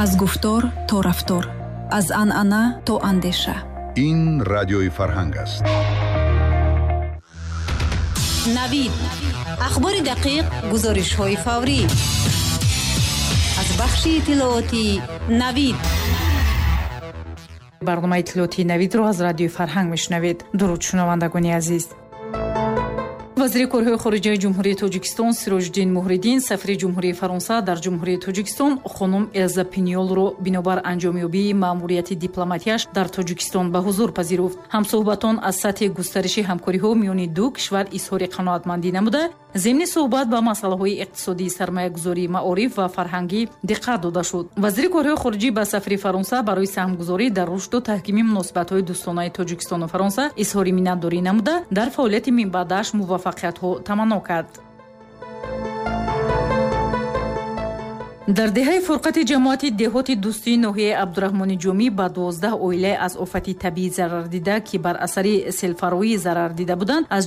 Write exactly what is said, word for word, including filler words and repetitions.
Аз гуфтор то рафтор, аз анъана то андеша. Ин Радиои Фарҳанг аст. Навид: ахбори дақиқ, гузоришҳои фаврӣ аз бахши иттилоотии Навид. Барномаи иттилоотии Навидро аз Радиои Фарҳанг мешунавед. Дуруд, шунавандагони азиз. Вазири корҳои хориҷаи Ҷумҳурии Тоҷикистон Сироҷиддин Муҳриддин сафири Ҷумҳурии Фаронса дар Ҷумҳурии Тоҷикистон хонум Элза Пиньолро бинобар анҷомёбии маъмурияти дипломатияш дар Тоҷикистон ба ҳузур пазируфт. Ҳамсӯҳбатон аз сатҳи густариши ҳамкориҳо миёни ду кишвар изҳори қаноатмандӣ намуда, зимни суҳбат ба масъалаҳои иқтисодии, сармоягузорӣ, маориф ва фарҳангӣ диққат дода шуд. Вазири корҳои хориҷӣ ба сафири Фаронса барои саҳмгузорӣ дар рушду таҳкими муносибатҳои дӯстонаи Тоҷикистону Фаронса изҳори миннатдорӣ намуда, дар фаъолияти минбаъдааш муваффақиятҳо таманно кард. Дар деҳаи Фурқати ҷамоати деҳоти Дӯстии ноҳияи Абдураҳмони Ҷомӣ ба дувоздаҳ оилае аз офати табиӣ зарардида, ки бар асари селфароӣ зарар дида буданд, аз